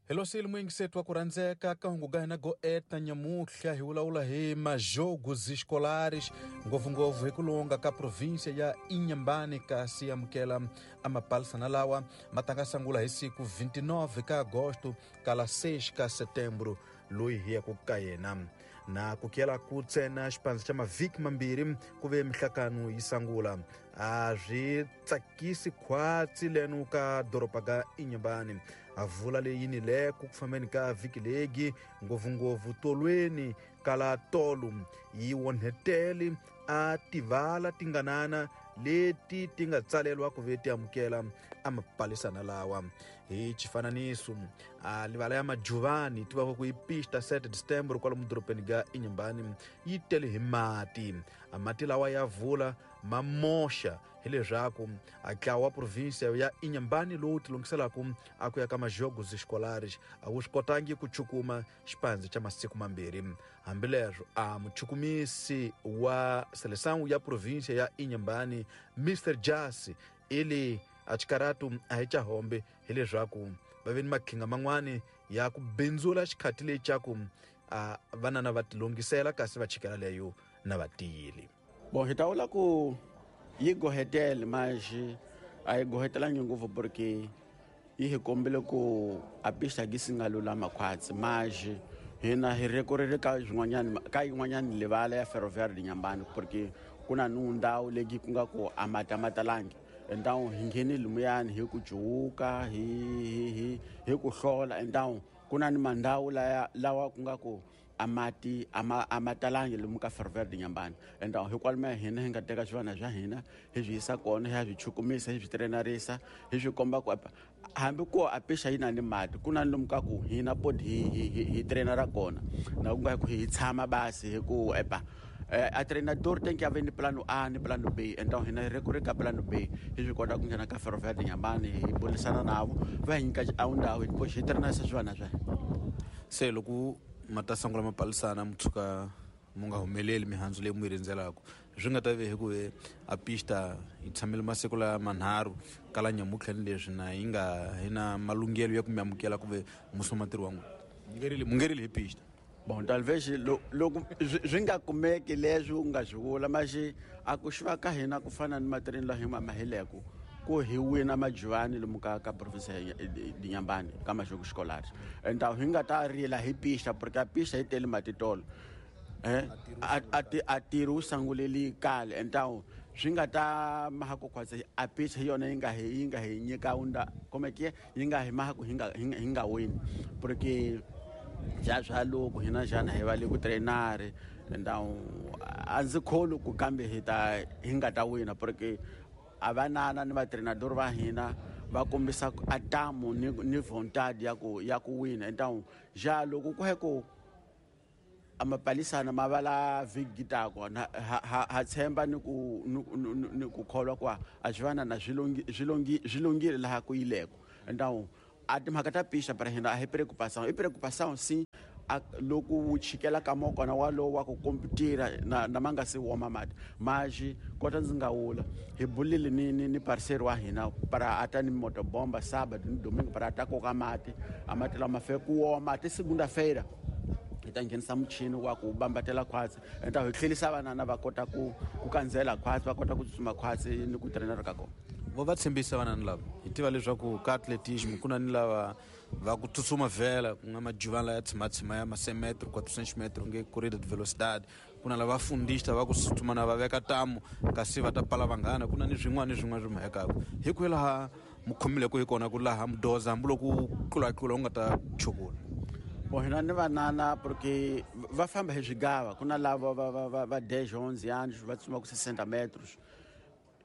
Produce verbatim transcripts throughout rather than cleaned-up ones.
Hello muyingiseti wa ku rhandzeka ka hungu ga hina go eta nyamuhla hi vulavula hi majogos escolares ngopfungopfu hi ku longa ka província ya Inhambane kasi amukela amapalisana lawa ma ta nga sungula hi siku vinte e nove ka agosto kala seis ka setembro loyi hi yaku ka yena na ku kela ku ntsena xipandza xa mavhiki mambirhi ku ve mihlakano yi sungula a swi tsakisi khwatsi leno ka doroba ga Inhambane a vula leyi ni le ku fambeni ka vhiki legi ngopfungopfu tolweni kala tolo yi onhetele a tivala tinganana leti ti nga tsalelwa ku ve ti amukela amapalisana lawa hi xifananiso a livala ya Majuvani tivaka ku yi pista sete de setembro kwalomu dorobeni ga Inhambane yi tele hi mati a mati lawa ya vula ma moxa hileswaku a ntlawa wa província ya Inhambane lowu tilunghiselaka a ku ya ka majogos escolares a wu swi kotangi ku chukuma xipandza xa masiku mambirhi hambileswo a muchukumisi wa seleção ya província ya Inhambane Mister Jasi ili a xikaratu a hi xa hombe hileswaku va ve ni makhinga man'wani ya ku bindzula xikhati lecaku a vanana va tilunghisela kasi va chikela leyo na va tiyile. Bom, hi ta vula ku yi gohetele mas a yi gohetelangi ngopfu porque yi hi kombile ku a pista gi si nga lulama khwatsi mas hina hi rekorele ka swin'wanyani ka yin'wanyani livala ya Ferroviário de Inhambane porque ku na nu ndhawu leyi ku nga ku a mati a ma talangi endawu hi ngheni lumuyani hi ku cuwuka hi hi hi hi ku hlola endawu ku na ni mandhawu laya lawa ku nga ku a mati a ma a ma talangi lomu ka Ferroviário de Inhambane endawu hikwalomu hina hi nga teka swivana swa hina hi swi yisa kona hi ya swi chukumisa hi swi trenarisa hi swi komba ku hambi ku a pixa yi na ni mati ku na lomu ka ku hina podi hi hi hi, hi trenara kona na ku nga ku hi tshama basi hi ku epa a treinador tem que haver ni plano A ni plano B então hina hi recorrer ka plano B hi swi kota ku nghena ka Ferroviário de Inhambane hi burisana navo va hi nyika a ndhawu hi hi trenarisa swivana swa hina. Se loko ma ta sungula mapalisana mi tshuka mu nga humeleli mihandzu leyi mu yi rindzelaka swi nga ta ve hi ku ve a pista yi tshamile masiku la manharhu kala nyamutlha ni leswi na yi nga hi na malunghelo ya ku mi amukela ku ve musoma ntirho wa n'wina mungerili mungerili hi pista. Bom, talvez loko swi nga kumeki leswi u nga swi vula mas a ku xiva ka hina ku fana ni matirheni laha hi ma maheleku ku hi wina Majuvani lomu ka ka province ya Inhambane ka Majoko Escolares endawu hi nga ta rila hi pista porque a pista yi tele matitolo eh a a tirhi wu sanguleli kale endawu swi nga ta maha ku khwatsi a pista hi yona yi nga hi yi nga hi nyika unda como é que yi nga hi maha ku hi nga hi nga wini porque ja swa loko hina xana hi va le ku trainare endawu a ndzi kholwi ku kambe hi ta hi nga ta wina porque a vanana ni vatreinador va hina va kombisa a tamu ni ni vontade ya ku ya ku wina endawu ja loko ku he ku amapalisana ma vala vhiki tako ha, ha, ha tshemba ni ku ni, ni, ni ku kholwa ku a swi vana na swi longi swi longi swi longile laha ku yileko endawu a timhaka ta pixa para hina a hi preocupação i preocupação sim a loko wu chikela ka mokona walowo wa ku komputira na, na ma nga se woma mati mas kota ndzi nga wula hi bulile ni, ni, ni parceiro wa hina para ata ni motobomba sábado ni domingo para ata koka mati a mati lama fe ku woma ti segunda-feira hi ta nghenisa muchini wa ku bambatela khwatsi enta hi tlhelisa vanana va kota ku ku kandzela khwatsi va kota ku tsutsuma khwatsi ni ku trainera ka kona. Vo va tshembisa vanani lava hi tiva leswaku ka atletismo ku na ni lava va ku tsutsuma vhela ku nga Majuvani laya tshimatshima ya ma cent metro quatrocentos metro nge corrida de velocidade ku na lava fundista va ku tsutsuma na va veka tamu kasi va ta pala vanghana ku na ni swin'wana ni swin'wana swi mhekaka hi ku laha mu khomileko hi kona ku laha mudoza hambiloko ku tlulatlula u nga ta chukula. Bom, hina ni vanana porque va famba hi swigava ku na lava va va va va dez onze anos va tsutsuma ku sessenta metros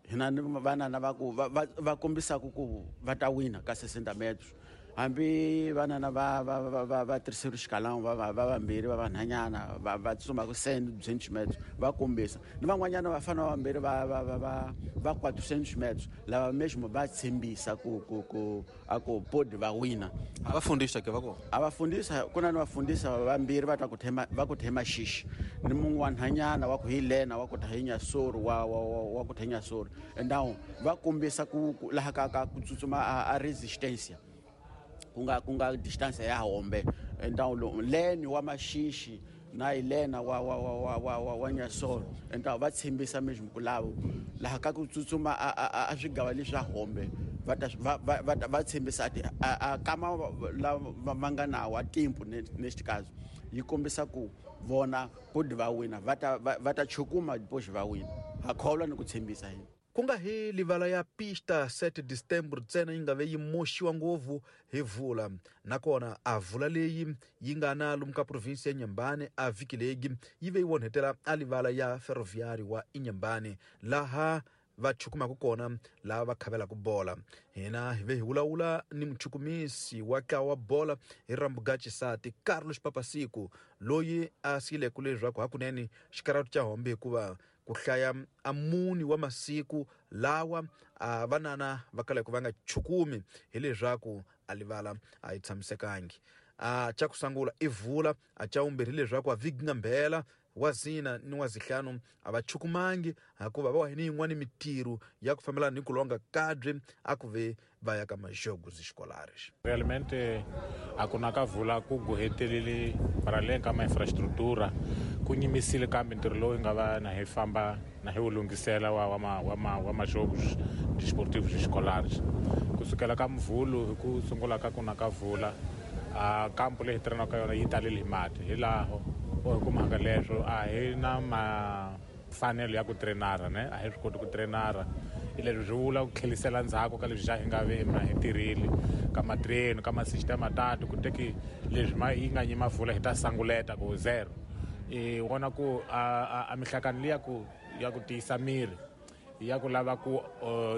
hina ni vanana va ku va va kombisaka ku va ta wina ka sessenta metros hambi vanana va va va va va terceiro escalão va va va vambirhi va vanhanyana va va tsutsuma ku cent duzentos metros va kombisa ni van'wanyana va fana vambirhi va va va va va quatrocentos metros lava mesmo va tshembisa ku ku ku a ku podi va wina. A va fundisa ke va kona a va fundisa ku na ni vafundisa vambirhi va ta ku thema va ku thema xixi ni mun'we wa nhanyana wa ku hi lena wa ku ta hi nyasoro wa wa wa ku thenya soro endawu va kombisa ku laha ka ka ku tsutsuma a resistência ku nga ku nga distance ya Hombe. Então leni wa Maxixe na Helena wa wa wa wa wa wa Nyasolo. Então va tshembisa mesmo ku lavo laha ka ku tsutsuma a swigava leswi swa Hombe va va va va tshembisa ti a kama la va nga nawo a tempo neste caso yi kombisa ku vona podi va wina va ta va ta chukuma depois va wina ha kholwa ni ku tshembisa hina. Ku nga hi livala ya pista sete de setembro ntsena yi nga ve yi moxiwa ngopfu hi vula, nakona a vula leyi yi nga na lomu ka provinsi ya Inhambane a vhiki leyi yi ve yi onhetela a livala ya ferroviário wa Inhambane laha va chukumaka kona laha va khavelaka bola. Hina hi ve hi vulavula ni muchukumisi wa ntlawa wa bola hi Rambugaxisati Carlos Papasiku loyi a siyileke leswaku hakunene xikaratu xa Hombe hikuva ku hlaya a muni wa masiku lawa a vanana va kalaka va nga chukumi hileswaku a livala a yi tshamisekangi. A xa ku sungula i vula, a xa vumbirhi leswaku a vhiki nga mbhela wa zina ni wa zihlanu a va chukumangi hikuva va ni yin'wana mitirho ya ku fambelana ni ku longa kabye a ku ve va ya ka majogos escolares. Realmente a ku na ka vula ku gohetelele para além ka ma infraestrutura ku nyimisile kambe ntirho lowu nga va na hi famba na hi wu lunghisela wa wa ma wa ma wa majogos desportivos escolares. Kusukela ka mvulu hi ku sungula ka ku na ka vula a kampo leyi hi tirhanaka yona yi talele hi mati hi laho o hi kumaka leswo a hi na mafanelo ya ku trenara ne a hi swi koti ku trenara hi leswi swi vula ku tlhelisela ndzhaku ka leswi xa hi nga ve ma hi tirhile ka matreni ka masistema tatu ku teki leswi ma yi nga nyima vula hi ta sanguleta ku zero i vona ku a mihlakano liya ku ya ku tiyisa miri ya ku lava ku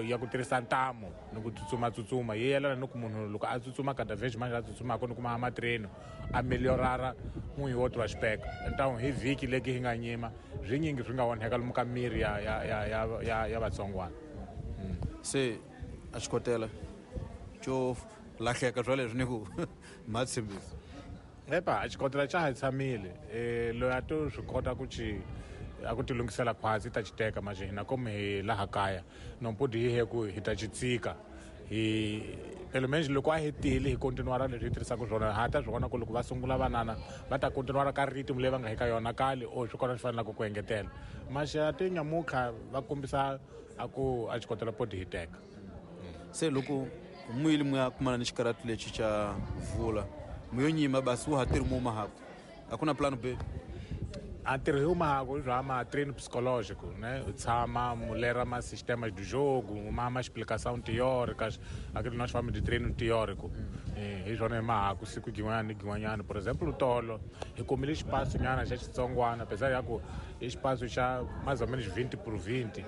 ya ku tirhisa ntamu ni ku tsutsuma tsutsuma yi yelana ni ku munhu loko a tsutsuma cada vez mais a tsutsumaka ni kuma matreno a melhorara um e outro aspecto. Então hi vhiki leki hi nga nyima swinyingi swi nga onheka lomu ka miri ya ya ya ya ya ya vatsongwana. Se a xikotela xo lahleka swa leswi ni ku ma tshembisa. Epa a xikotela xa ha tshamile eh loyi a to swi kota ku xi a ku ti lunghisela khwatsi ta xiteka manje hina komu hi laha kaya no podi hi he ku hi ta xi tsika hi pelo menos loko a hetile hi continuara leswi hi tirhisaka swona ha ta swi vona ku loko va sungula vanana va ta continuara ka rhythm leyi va nga hi ka yona kale or swi kona swi fanelaka ku engetela maxe a ti nyamukha va kombisa a ku a xikotela podi hi teka. Se loko muyili mu ya kumana ni xikaratu lexi xa vula muyo nyima basi wu ha tirhi mu mahaku a ku na plan B. A ntirho hi mahako bya ma treino psicológico, né? Tshama mulera ma sistemas do jogo, uma ma explicação teórica, aquilo nós chamamos de treino teórico. Hi swona hi mahako siku gin'wana ni gin'wanyana. Por exemplo, tolo hi kumile espaço nyana xa xitsongwana, apesar ya ku i espaço xa mais ou menos vinte por vinte.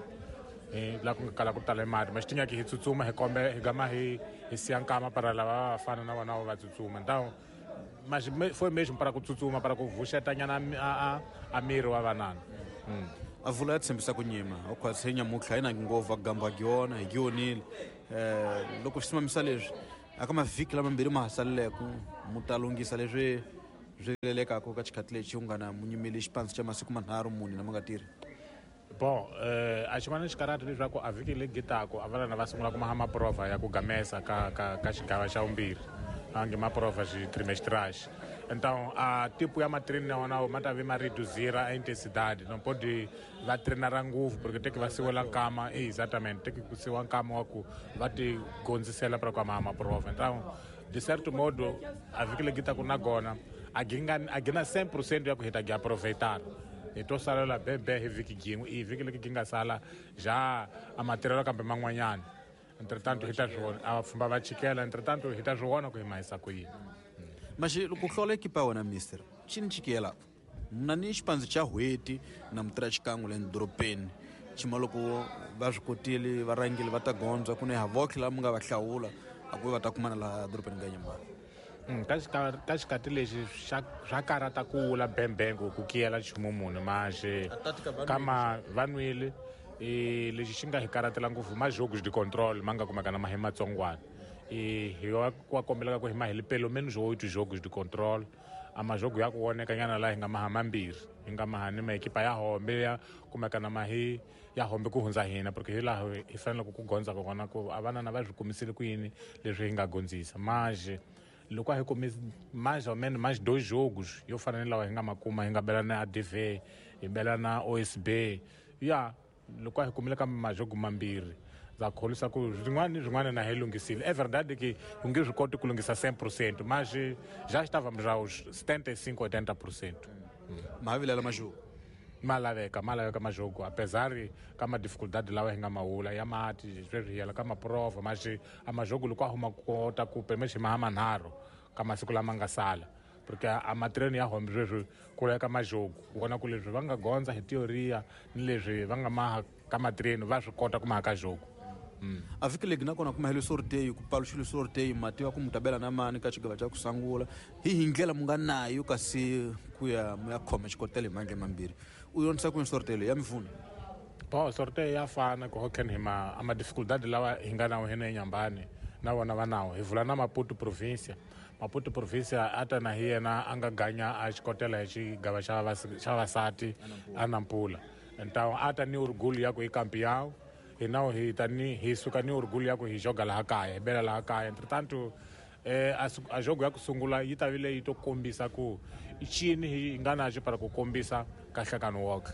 Eh, la ku nga kala ku tala mati, mas tinha que hi tsutsuma hi kombe hi gama hi hi siya nkama para lava va fana na vona va tsutsuma. Então mas foi mesmo para ku tsutsuma para ku vuxetanyana a a a miri wa vanana. Mm. A vula ya tshembisa ku nyima u khwatsi nyamutlha yi na ngopfu a gamba gyona hi gyonile eh loko swi simamisa leswi aka mavhiki lamambirhi ma ha saleleke mu ta lunghisa leswi swi lelekaka ka xikhathi lexi u nga na mu nyimele xipandzi xa masiku manharhu mune na ma nga tirhi. Bom, eh, a xin'wana xikaratu leswaku a vhiki leyi gitako a vanana va sungula ku maha maprova ya ku gamesa ka ka ka xigava xa vumbirhi ange maprova xi trimestrais. Então a tipo ya matreni na wona ma ta ve ma reduzira a intensidade, não pode va trenara ngopfu porque tem que va siwela nkama, exatamente, tem que siwa nkama wa ku va ti gondzisela para ku maha maprova. Então de certo modo a vhiki leyi gitako na gona a ginga a gina cem por cento ya ku hi ta gi aproveitar. Hi to salela bebe hi vhiki yin'we i vhiki leki gi nga sala ja a matirhelo kambe man'wanyana. Entretanto hi ta swi vona a vapfhumba va chikela, entretanto hi ta swi vona ku hi mahisa ku yini. Maxi loko hlola ekipa ya wena mister xi ni chikela mna ni xipandzi xa n'hweti na mutirha xikan'we le dorobeni xima loko va swi kotile va rhangile va ta gondza ku ne ha votlhe lava mi nga va hlawula a ku ve va ta kumana laha dorobeni ka Nyamani. Mm, ka xika ka xikati lexi xa swa karata ku wula bembengo ku kiyela nchumu munhu maxe kama va nwile e lexi xi nga hi karatela ngopfu majogos de control ma nga kumeka na mahi matsongwana e hi wa wa kombelaka ku hi mahele pelo menos oito jogos de control a majogo ya ku voneka nyana laha hi nga maha mambirhi hi nga maha ni maekipa ya Hombe ya kumeka na mahi ya Hombe ku hundza hina porque hi laha hi faneleke ku gondza kona ku a vanana va swi kumisile ku yini leswi hi nga gondzisa maje Loko a hi kumi mais ou menos mais dois jogos yo fana ni lawa hi nga ma kuma, hi nga bela na A D V, hi bela na O S B. Ya loko a hi kumile ka majogo mambirhi, ndza kholwisa ku swin'wana ni swin'wana na hi lunghisile. É verdade que u nge swi koti ku lunghisa cem por cento, mas já estávamos aos setenta e cinco, oitenta por cento. Ma vilela majogo? Ma laveka, ma laveka majogo, apesar ka ma dificuldade lawa hi nga ma wula ya mati, sweswi hi yela ka maprova, mas a majogo loko a huma kota ku pelo menos hi maha manharhu ka masiku lama nga sala, porque a matreno ya home sweswi ku ya ka majogo, u vona ku leswi va nga gondza hi teoria ni leswi va nga maha ka matreno va swi kota ku maha ka jogo. A vhiki legi nakona ku mahelo sorteio, ku paluxile sorteio, mati wa ku mutabela na mani ka xigava xa ku sungula. Hi hi ndlela mu nga nayo kasi ku ya mu ya khoma xikotela hi mandla mambirhi. U yonisa ku sorteio ya mifuna? Bo, sorteio ya fana ku hoken hi ma ama dificuldade lawa hi nga nawo hina eNyambani na vona va nawo. Hi vula na Maputo província. Maputo província ata na hi yena a nga ganya a xikotela hi xigava xa vavas-, xa vavasati a Nampula. Então ata ni orgulho ya ku i campeão. E não, hi ta ni, hi suka ni orgulho ya ku hi joga laha kaya, hi bela laha kaya. Entretanto, eh, a su-, a jogo ya ku sungula yi ta vile yi to kombisa ku i cini hi nga na xo para ku kombisa ka nhlangano woke.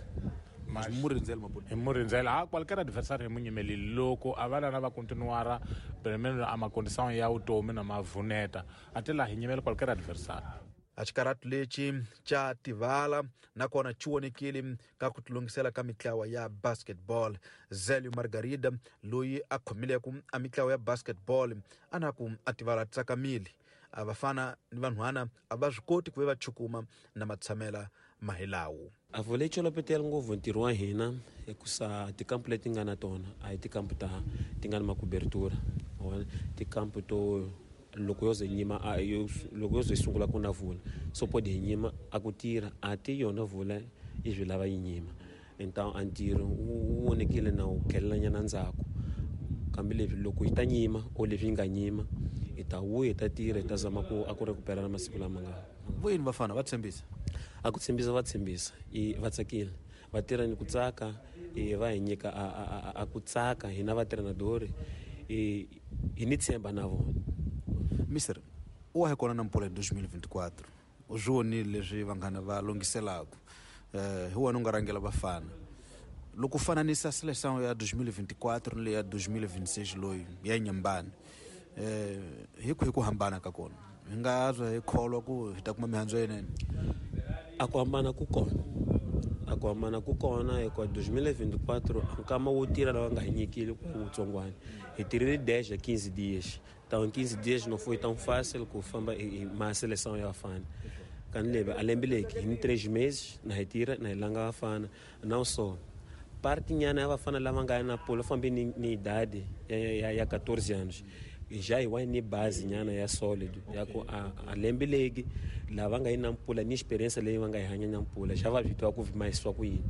Mas hi mu rindzela Maputo. Hi mu rindzela. Ah, qualquer adversário hi mu nyimelile. Loko a va lava va continuara, pelo menos a ma condição ya vutomi na mavuneta, a ti laha hi nyimela qualquer adversário. A xikaratu lexi xa Tivala nakona xi vonekile ka ku tilungisela ka mitlawa ya basketball. Zélio Margarida loyi a khomileke a mitlawa ya basketball a na ku a Tivala tsakamile. A vafana ni vanhwana a va swi koti ku ve va chukuma na matshamela mahilawu. A vhole tsholopetela ngopfu ntirho wa hina hikusa tikampu leti nga na tona a hi tikampu ta ti nga na makubertura. Tikampu to loko yo ze nyima, a yo, loko yo ze sungula ku na vula, so pode hi nyima a ku tirha, a ti yona vula yi swi lava yi nyima. Então a ntirho wu vonekile na wu khelela nyana ndzhaku. Kambe leswi loko yi ta nyima o leswi yi nga nyima, hi ta vuya hi ta tirha, hi ta zama ku a ku recuperana masiku lama nga. Vuyini vafana va tshembisa? A ku tshembisa va tshembisa, i va tsakile, va tirha ni ku tsaka, i va hi nyika a, a, a, a ku tsaka hina va treinador, i hi ni tshemba na vona. Mister, u wa hi kona na Nampula hi dois mil e vinte e quatro. U swi vonile leswi vanghana va lunghiselaka. Eh, hi wena u nga rhangela vafana. Loko u fananisa seleção ya dois mil e vinte e quatro ni leyi ya dois mil e vinte e seis loyi ya Inhambane, eh, hi kwihi ku hambana ka kona? Hi nga zwa hi kholwa ku hi ta kuma mihandzu yinene? A ku hambana ku kona. A ku hambana ku kona hikuva dois mil e vinte e quatro nkama wo tirha lawa nga hi nyikile ku wutsongwana. Hi tirhile dez a quinze dias. Então, quinze dias não foi tão fácil ku famba e, e ma seleção ya vafana. Kanilebe, a lembe leki, em três meses, na retira, na ilanga vafana. Não só. Parte nyana ya vafana lava nga na polo, fambi ni, ni idade, ya, ya, ya quatorze anos. Já iwa ni base nyana ya sólido. Ya ku a, a lembe leki, lava nga na mpula, ni experiência leyi va nga yi hanya na mpula, já va swi tiva ku mais swa ku yini.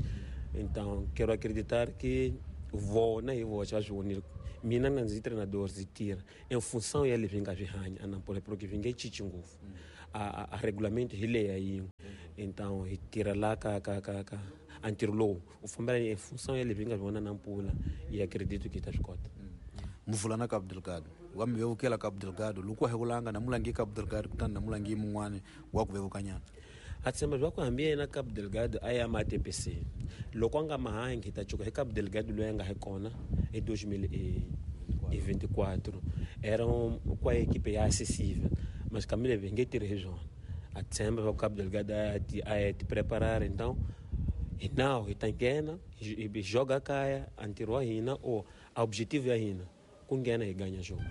Então, quero acreditar que vona hi voxe va swi vonile. Mina na ndzi treinador ndzi tirha em função ya leswi nga swi hanya a Nampula, porque swi nge cinci ngopfu. A, a, a regulamento hi leya yin'we. Então hi tirha la ka, ka, ka, ka a ntirho lowu u fambela em função ya leswi nga swi vona na Nampula, hi acredito que hi ta swi kota. Muvula na Cabo Delgado, wa mi vevukela Cabo Delgado, loko wa hi vulanga na mulangi Cabo Delgado, kutani na mulangi mun'wani wa ku vevuka nyana. A tshemba swa ku hambi yena Cabo Delgado a ya ma T P C, loko a nga mahangi hi ta cuka hi Cabo Delgado loyi a nga hi kona hi dois mil e vinte e quatro. Era um, kwa equipe ya acessível, mas Camila vem nge tirhi hi swona. A tshemba swa ku Cabo Delgado a ti, a ya ti preparar, então hi nawu hi ta nghena, hi, hi joga kaya, a ntirho wa hina o a objetivo ya hina ku nghena hi ganya jogo.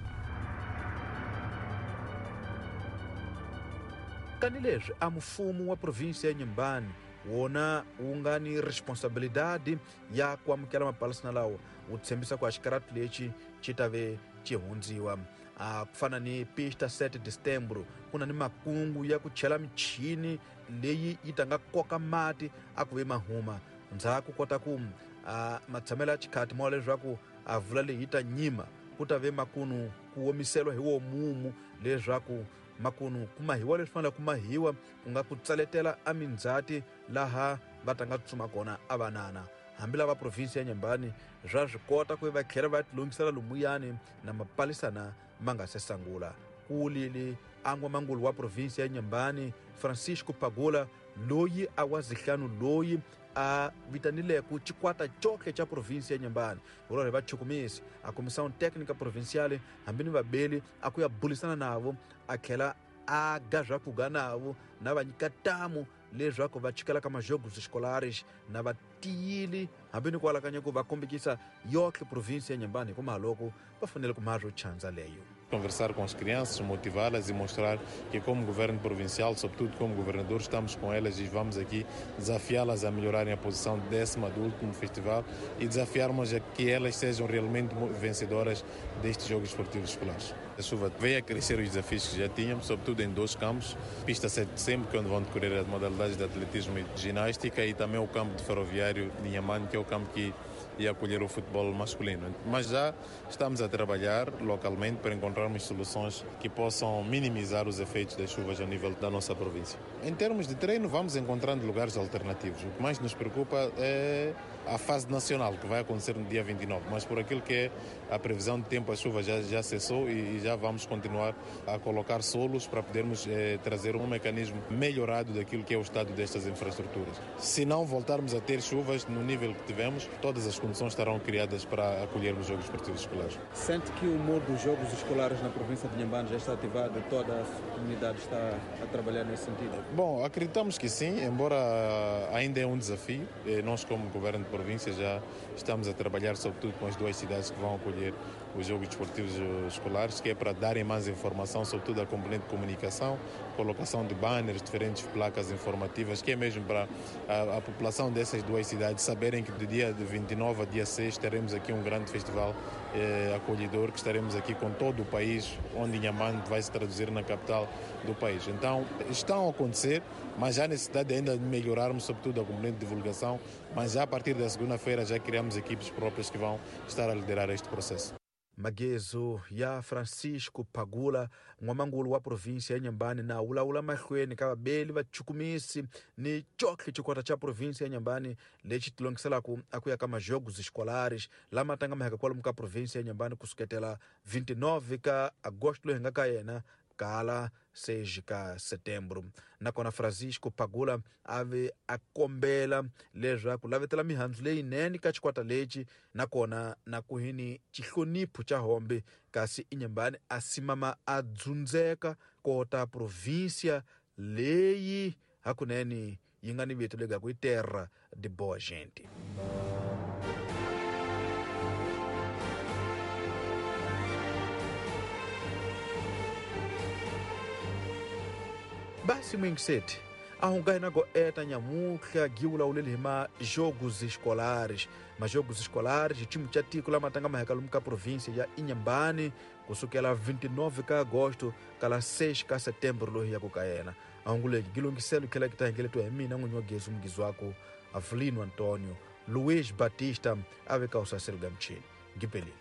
Kani leswi a mfumo wa província ya Inhambane wona wu nga ni responsabilidade ya ku amukela mapalasi lawa, wu tshembisa ku a xikaratu lexi xi ta ve xi hundziwa. A ku fana ni pista sete de setembro, ku na ni makungu ya ku chela michini leyi yi ta nga koka mati a ku ve mahuma. Ndzhaku kota ku a matshamelo ya xikhati ma leswaku a vula leyi yi ta nyima, ku ta ve makunu ku omiseliwa hi wo mumu leswaku makunu ku mahiwa leswi faneleke ku mahiwa, ku nga ku tsaletela a mindzhati laha va ta nga tsutsuma kona a vanana. Hambi lava province ya Inhambane swa swi kota ku va tlhela va tilungisela lomuyani na mapalisana ma nga se sungula. Ku wulile a n'wamangulu wa provinsia ya Inhambane Francisco Pagula loyi a wa zihlanu loyi a vitanileko xikwata cohle xa provinsia ya Inhambane vulore va chukumisi a comissão técnica provincial hambi ni vabeli a ku ya bulisana navo a tlhela a ga swakuga navo na va nyika tamu leswaku va chikela ka majogos escolares na va tiyile hambi ni ku alakanya ku va kombekisa yohle provinsia ya Inhambane hi ku mahaloko va fanele ku maha swo chandza leyo. Conversar com as crianças, motivá-las e mostrar que como governo provincial, sobretudo como governador, estamos com elas e vamos aqui desafiá-las a melhorarem a posição décima do último festival e desafiarmos a que elas sejam realmente vencedoras destes Jogos Esportivos Escolares. A chuva veio a crescer os desafios que já tínhamos, sobretudo em dois campos, pista sete de setembro, que é onde vão decorrer as modalidades de atletismo e de ginástica, e também o campo de ferroviário de Inhambane, que é o campo que ia acolher o futebol masculino. Mas já estamos a trabalhar localmente para encontrarmos soluções que possam minimizar os efeitos das chuvas ao nível da nossa província. Em termos de treino, vamos encontrando lugares alternativos. O que mais nos preocupa é a fase nacional, que vai acontecer no dia vinte e nove, mas por aquilo que é a previsão de tempo, a chuva já, já cessou e, e já vamos continuar a colocar solos para podermos eh, trazer um mecanismo melhorado daquilo que é o estado destas infraestruturas. Se não voltarmos a ter chuvas no nível que tivemos, todas as condições estarão criadas para acolhermos os Jogos Esportivos Escolares. Sente que o modo dos Jogos Escolares na província de Inhambane já está ativado, toda a comunidade está a trabalhar nesse sentido? Bom, acreditamos que sim, embora ainda é um desafio. Nós, como governo de província, já estamos a trabalhar sobretudo com as duas cidades que vão acolher os Jogos Desportivos Escolares, que é para darem mais informação, sobretudo a componente de comunicação, colocação de banners, diferentes placas informativas, que é mesmo para a, a população dessas duas cidades saberem que do dia vinte e nove a dia seis teremos aqui um grande festival eh, acolhedor, que estaremos aqui com todo o país, onde Inhambane vai se traduzir na capital do país. Então, estão a acontecer, mas há necessidade ainda de melhorarmos, sobretudo a componente de divulgação, mas já a partir da segunda-feira já criamos equipes próprias que vão estar a liderar este processo. Magezo ya Francisco Pagula n'wamangulu wa província ya Inhambane na wulawula mahlweni ka vabeli va chukumisi ni cohle xikwata xa província ya Inhambane lexi tilongiselaku a ku ya ka majogos escolares lama tanga maheka kwalomu ka província ya Inhambane kusuketela vinte e nove ka agosto loyi hi nga ka yena kala seis ka setembro. Nakona Francisco Pagula a ve a kombela leswaku lavetela mihandzu leyinene ka xikwata lexi nakona na ku hini xihlonipho xa hombe kasi Inhambane a simama a dzundzeka kota província leyi hakunene yi nga ni vito lega ku i terra de boa gente. Basi mwingiseti ahunga hina go eta nyamuhla giwulawuleli hi majogos escolares majogos escolares xitimu xa tiko lama tanga maheka lomu ka província ya Inhambane kusukela vinte e nove ka agosto kala seis ka setembro loyi ya ku ka yena ahunguleki gilungiselo tlhela ki ta hingeletiwa hi mina n'winyi wa gezi mugizi waku Avelino Antonio Luiz Batista a veka usaselo ga mchini ngipelile.